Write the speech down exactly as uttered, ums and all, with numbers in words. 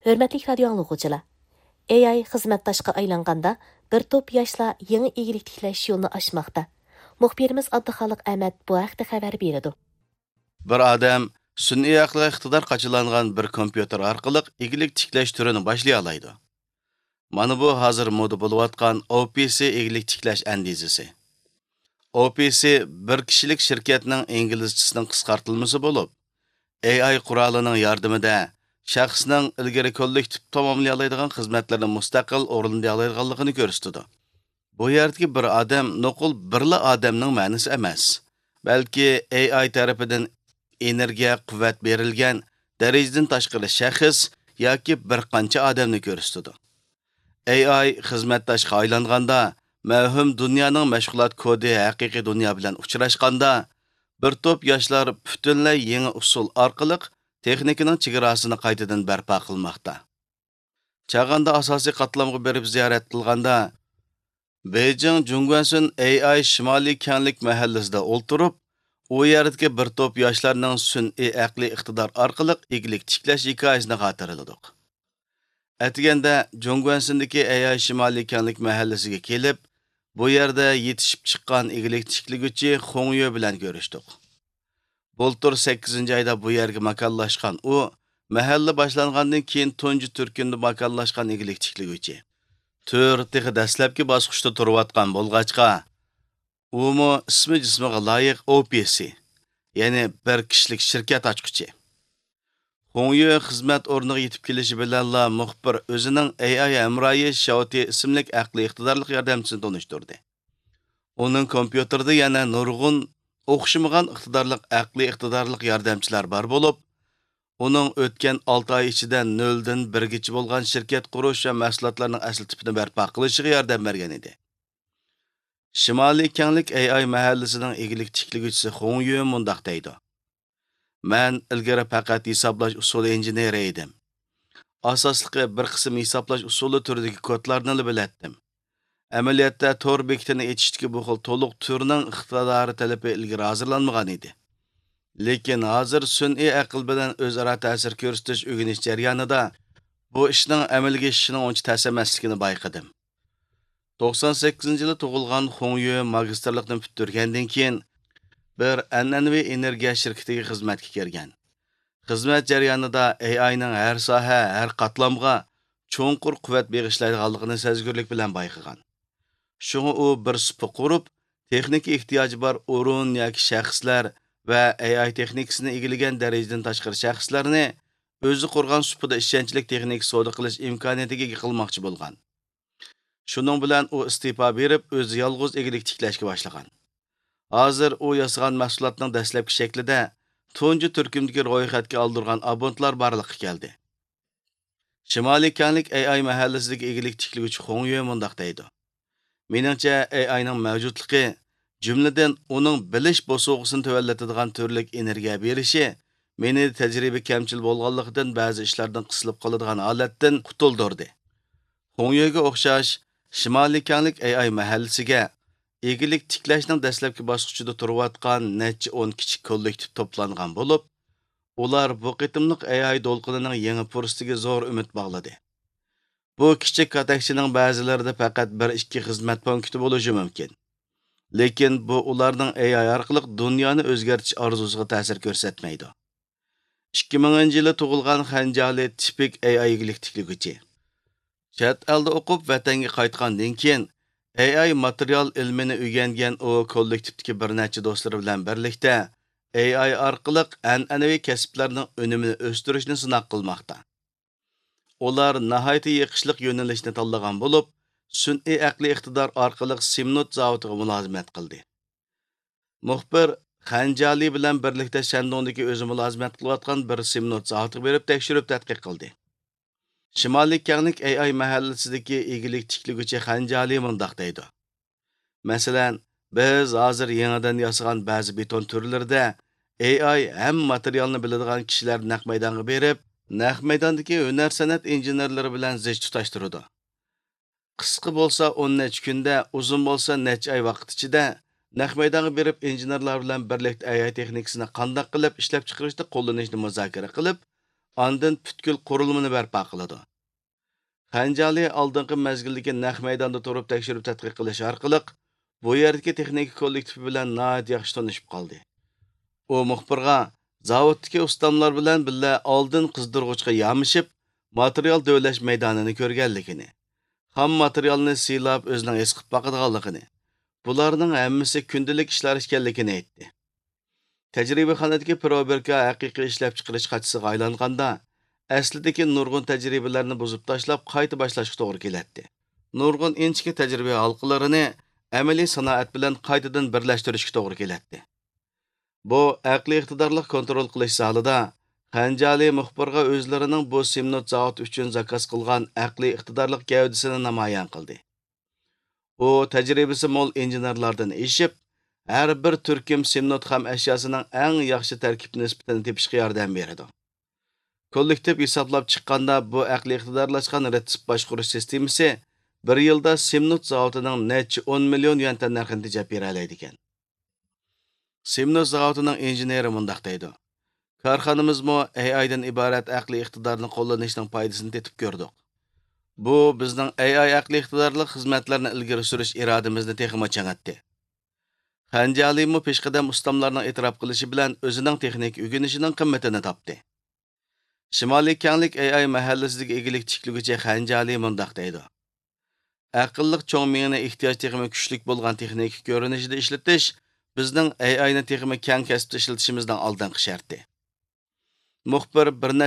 ھۆرمەتلىك رادىيو ئاڭلىغۇچىلار! ئېي ئاي خىزمەتداشقا ئايلانغاندا، بىر توپ ياشلار يېڭى ئىگىلىك تىكلەش يولىنى ئاچماقتا. مۇخبىرىمىز ئابدۇخالىق ئەمەت بۇ ھەقتە خەۋەر بېرىدۇ. بىر ئادەم سۈنئىي ئەقىلگە ئىقتىدار قاچىلانغان بىر كومپيۇتېر ئارقىلىق ئىگىلىك تىكلەش تۈرىنى باشلىيالايدۇ. مانا بۇ ھازىر مودا بولۇۋاتقان ئو پى سى ئىگىلىك تىكلەش ئەندىزىسى. ئو پى سى بىر كىشىلىك شىركەتنىڭ ئىنگلىزچىسىنىڭ قىسقارتىلمىسى بولۇپ، ئېي ئاي قورالىنىڭ ياردىمىدە شەخسنىڭ ئىلگىرى كوللېكتىپ تاماملىيالايدىغان خىزمەتلىرىنى مۇستەقىل ئورۇندىيالايدىغانلىقىنى كۆرسىتىدۇ. بۇ يەردىكى بىر ئادەم نوقۇل بىرلا ئادەمنىڭ مەنىسى ئەمەس، بەلكى ئېي ئاي تەرىپىدىن ئېنېرگىيە، قۇۋۋەت بېرىلگەن دەرىجىدىن تاشقىرى شەخس ياكى بىر قانچە ئادەمنى كۆرسىتىدۇ. ئېي ئاي خىزمەتداشقا ئايلانغاندا، مەۋھۇم دۇنيانىڭ مەشغۇلات كودى ھەقىقىي دۇنيا بىلەن ئۇچراشقاندا، بىر توپ ياشلار پۈتۈنلەي يېڭى ئۇسۇل ئارقىلىق تېخنىكىنىڭ چېگراسىنى قايتىدىن بەرپا قىلماقتا. چاغاندا ئاساسىي قاتلامغا بېرىپ زىيارەت قىلغاندا، بېيجىڭ جۇڭگۇەنسۈن ئېي ئاي شىمالىي كەڭلىك مەھەللىسىدە ئولتۇرۇپ، ئۇ يەردىكى بىر توپ ياشلارنىڭ سۈنئىي ئەقلىي ئىقتىدار ئارقىلىق ئىگىلىك تىكلەش ھېكايىسىنى خاتىرىلىدۇق. ئەتىگەندە جۇڭگۇەنسىندىكى ئەياي شىمالىي كەڭلىك مەھەللىسىگە كېلىپ، بۇ يەردە يېتىشىپ چىققان ئىگىلىك تىكلىگۈچى خۇڭيۆ بىلەن كۆرۈشتۇق. بۇلتۇر سەككىزىنچى ئايدا بۇ يەرگە ماكانلاشقان ئۇ، مەھەللە باشلانغاندىن كېيىن تۇنجى تۈركۈمدە ماكانلاشقان ئىگىلىك تىكلىگۈچى. تۈر تېخى دەسلەپكى باسقۇچتا تۇرۇۋاتقان بولغاچقا، ئۇمۇ ئىسمى جىسمىغا لايىق ئو پى سى، يەنى بىر كىشىلىك شىركەت ئاچقۇچى. خۇڭيۆ خىزمەت ئورنىغا يېتىپ كېلىشى بىلەنلا مۇخبىر ئۆزىنىڭ ئېي ئاي ھەمراھى شياۋتى ئىسىملىك ئەقلىي ئىقتىدارلىق ياردەمچىسىنى تونۇشتۇردى. ئۇنىڭ كومپيۇتېرىدا يەنە نۇرغۇن ئوخشىمىغان ئىقتىدارلىق ئەقلىي ئىقتىدارلىق ياردەمچىلەر بار بولۇپ، ئۇنىڭ ئۆتكەن ئالتە ئاي ئىچىدە نۆلدىن بىرگىچە بولغان شىركەت قۇرۇش ۋە مەھسۇلاتلارنىڭ ئەسلى تىپىنى بەرپا قىلىشىغا ياردەم بەرگەن ئىدى. شىمالىي كەڭلىك ئېي ئاي مەھەللىسىنىڭ ئىگىلىك تىكلىگۈچىسى خۇڭ يۈ مۇنداق دەيدۇ: مەن ئىلگىرى پەقەت ھېسابلاش ئۇسۇلى ئىنژېنېرى ئىدىم. ئاساسلىقى بىر قىسىم ھېسابلاش ئۇسۇلى تۈرىدىكى كودلارنىلا بىلەتتىم. ئەمەلىيەتتە تور بېكىتىنى ئېچىشتىكى بۇ خىل تولۇق تۈرنىڭ ئىقتىدارى تەلىپى ئىلگىرى ھازىرلانمىغان ئىدى. لېكىن ھازىر سۈنئىي ئەقىل بىلەن ئۆزئارا تەسىر كۆرسىتىش ئۆگىنىش جەريانىدا بۇ ئىشنىڭ ئەمەلگە ئېشىشىنىڭ ئۇنچە تەس ئەمەسلىكىنى بايقىدىم. توقسان سەككىزىنچى يىلى تۇغۇلغان خۇڭ يۈ ماگىستىرلىقنى پۈتتۈرگەندىن كېيىن، بىر ئەنئەنىۋى ئېنېرگىيە شىركىتىگە خىزمەتكە كىرگەن. خىزمەت جەريانىدا ئېي ئاينىڭ ھەر ساھە، ھەر قاتلامغا چوڭقۇر قۇۋۋەت بېغىشلايدىغانلىقىنى سەزگۈرلۈك بىلەن بايقىغان. شۇڭا ئۇ بىر سۇپا قۇرۇپ، تېخنىكا ئېھتىياجى بار ئورۇن ياكى شەخسلەر ۋە ئېي ئاي تېخنىكىسىنى ئىگىلىگەن دەرىجىدىن تاشقىرى شەخسلەرنى ئۆزى قۇرغان سۇپىدا ئىشەنچلىك تېخنىكا سودا قىلىش ئىمكانىيىتىگە ئىگە قىلماقچى بولغان. شۇنىڭ بىلەن ئۇ ئىستېپا بېرىپ، ئۆزى يالغۇز ئىگىلىك تىكلەشكە باشلىغان. ھازىر ئۇ ياسىغان مەھسۇلاتنىڭ دەسلەپكى شەكلىدە تۇنجى تۈركۈمدىكى رويخەتكە ئالدۇرغان ئابونتلار بارلىققا كەلدى. شىمالىي كەڭلىك ئېي ئاي مەھەللىسىدىكى ئىگىلىك تىكلىگۈچى خۇڭ يۈ مۇنداق دەيدۇ: مېنىڭچە، ئېي ئاينىڭ مەۋجۇتلۇقى، جۈملىدىن ئۇنىڭ بىلىش بوسۇغىسىنى تۆۋەنلىتىدىغان تۈرلۈك ئېنېرگىيە بېرىشى مېنى تەجرىبە كەمچىل بولغانلىقىدىن بەزى ئىشلاردىن قىسىلىپ قالىدىغان ھالەتتىن قۇتۇلدۇردى. خۇڭ يۈگە ئوخشاش، شىمالىي كەڭلىك ئېي ئاي مەھەللىسىگە ئىگىلىك تىكلەشنىڭ دەسلەپكى باسقۇچىدا تۇرۇۋاتقان نەچچە ئون كىچىك كوللېكتىپ توپلانغان بولۇپ، ئۇلار بۇ قېتىملىق ئېي ئاي دولقۇنىنىڭ يېڭى پۇرسىتىگە زور ئۈمىد باغلىدى. بۇ كىچىك كاتەكچىنىڭ بەزىلىرىدە پەقەت بىر ئىككى خىزمەت پونكىتى بولۇشى مۇمكىن. لېكىن بۇ ئۇلارنىڭ ئېي ئاي ئارقىلىق دۇنيانى ئۆزگەرتىش ئارزۇسىغا تەسىر كۆرسەتمەيدۇ. ئىككى مىڭىنچى يىلى تۇغۇلغان خەنجالى تىپىك ئېي ئاي ئىگىلىك تىكلىگۈچى. چەت ئەلدە ئوقۇپ، ۋەتەنگە قايتقاندىن كېيىن، ئېي ئاي ماتېرىيال ئىلمىنى ئۆگەنگەن ئۇ كوللېكتىپتىكى بىر نەچچە دوستلىرى بىلەن بىرلىكتە، ئېي ئاي ئارقىلىق ئەنئەنىۋى كەسىپلەرنىڭ ئۈنۈمىنى ئۆستۈرۈشنى سىناق قىلماقتا. ئۇلار ناھايىتى يېقىشلىق يۆنىلىشنى تاللىغان بولۇپ، سۈنئىي ئەقلىي ئىقتىدار ئارقىلىق سىمنوت زاۋۇتىغا مۇلازىمەت قىلدى. مۇخبىر خەنجالى بىلەن بىرلىكتە شەندۇڭدىكى ئۆزى مۇلازىمەت قىلىۋاتقان بىر سىمنوت زاۋۇتىغا بېرىپ تەكشۈرۈپ تەتقىق قىلدى. شىمالىي كەڭلىك ئېي ئاي مەھەللىسىدىكى ئىگىلىك تىكلىگۈچى خەنجالى مۇنداق دەيدۇ: مەسىلەن، بىز ھازىر يېڭىدىن ياسىغان بەزى بېتون تۈرلىرىدە ئېي ئاي ھەم ماتېرىيالنى بىلىدىغان كىشىلەر نەق مەيدانغا بېرىپ، نەق مەيداندىكى ھۈنەر سەنئەت ئىنژېنېرلىرى بىلەن زىچ تۇتاشتۇرىدۇ. قىسقا بولسا ئون نەچچە كۈندە، ئۇزۇن بولسا نەچچە ئاي ۋاقىت ئىچىدە نەق مەيدانغا بېرىپ، ئىنژېنېرلار بىلەن بىرلىكتە ئېي ئاي تېخنىكىسىنى قانداق قىلىپ ئىشلەپچىقىرىشتا قوللىنىشنى مۇزاكىرە قىلىپ، ئاندىن پۈتكۈل قۇرۇلمىنى بەرپا قىلىدۇ. خەنجالى ئالدىنقى مەزگىلدىكى نەق مەيداندا تۇرۇپ تەكشۈرۈپ تەتقىق قىلىش ئارقىلىق، بۇ يەردىكى تېخنىكا كوللېكتىپى بىلەن ناھايىتى ياخشى تونۇشۇپ قالدى. ئۇ مۇخبىرغا زاۋۇتتىكى ئۇستاملار بىلەن بىللە ئالدىن قىزدۇرغۇچقا يامىشىپ، ماتېرىيال دۆۋىلەش مەيدانىنى كۆرگەنلىكىنى، خام ماتېرىيالنى سىيلاپ ئۆزىنىڭ ھېس قىلىپ باقىدىغانلىقىنى، بۇلارنىڭ ھەممىسى كۈندىلىك ئىشلار ئىكەنلىكىنى ئېيتتى. تەجرىبىخانىدىكى پىروبىركا ھەقىقىي ئىشلەپچىقىرىش قاچىسىغا ئايلانغاندا، ئەسلىدىكى نۇرغۇن تەجرىبىلەرنى بۇزۇپ تاشلاپ، قايتا باشلاشقا توغرا كېلەتتى. نۇرغۇن ئىنچىكە تەجرىبە ھالقىلىرىنى ئەمەلىي سانائەت بىلەن قايتىدىن بىرلەشتۈرۈشكە توغرا كېلەتتى. بۇ ئەقلىي ئىقتىدارلىق كونترول قىلىش زالىدا خەنجالى مۇخبىرغا ئۆزلىرىنىڭ بۇ سىمنوت زاۋۇتى ئۈچۈن زاكاز قىلغان ئەقلىي ئىقتىدارلىق گەۋدىسىنى نامايان قىلدى. ئۇ تەجرىبىسى مول ئىنژېنېرلاردىن ئېشىپ، ھەر بىر تۈركۈم سىمنوت خام ئەشياسىنىڭ ئەڭ ياخشى تەركىب نىسبىتىنى تېپىشقا ياردەم بېرىدۇ. كوللېكتىپ ھېسابلاپ چىققاندا، بۇ ئەقلىي ئىقتىدارلاشقان رېتسېپ باشقۇرۇش سىستېمىسى بىر يىلدا سىمنوت زاۋۇتىنىڭ نەچچە ئون مىليون يۈەن تەننەرخىنى تېجەپ بېرەلەيدىكەن. سىمنوس زاۋۇتىنىڭ ئىنژېنېرى مۇنداق دەيدۇ: كارخانىمىزمۇ ئەي ئايدىن ئىبارەت ئەقلىي ئىقتىدارنى قوللىنىشنىڭ پايدىسىنى تېتىپ كۆردۇق. بۇ بىزنىڭ ئەي ئاي ئەقلىي ئىقتىدارلىق خىزمەتلەرنى ئىلگىرى سۈرۈش ئىرادىمىزنى تېخىمۇ چىڭىتتى. خەنجالىمۇ پېشقەدەم ئۇستاملارنىڭ ئېتىراپ قىلىشى بىلەن ئۆزىنىڭ تېخنىكا ئۆگىنىشىنىڭ قىممىتىنى تاپتى. شىمالىي كەڭلىك ئەي ئاي مەھەللىسىدىكى ئىگىلىك تىكلىگۈچى خەنجالى مۇنداق دەيدۇ: ئەقىللىق چوڭ مېڭىنى ئېھتىياج تېخىمۇ كۈچلۈك بولغان تېخنىكا كۆرۈنۈشىدە ئىشلىتىش بىزنىڭ ئەي ئاينى تېخىمۇ كەڭ كەسىپتە ئىشلىتىشىمىزنىڭ ئالدىنقى شەرتى. مۇخبىر بىر نەچچە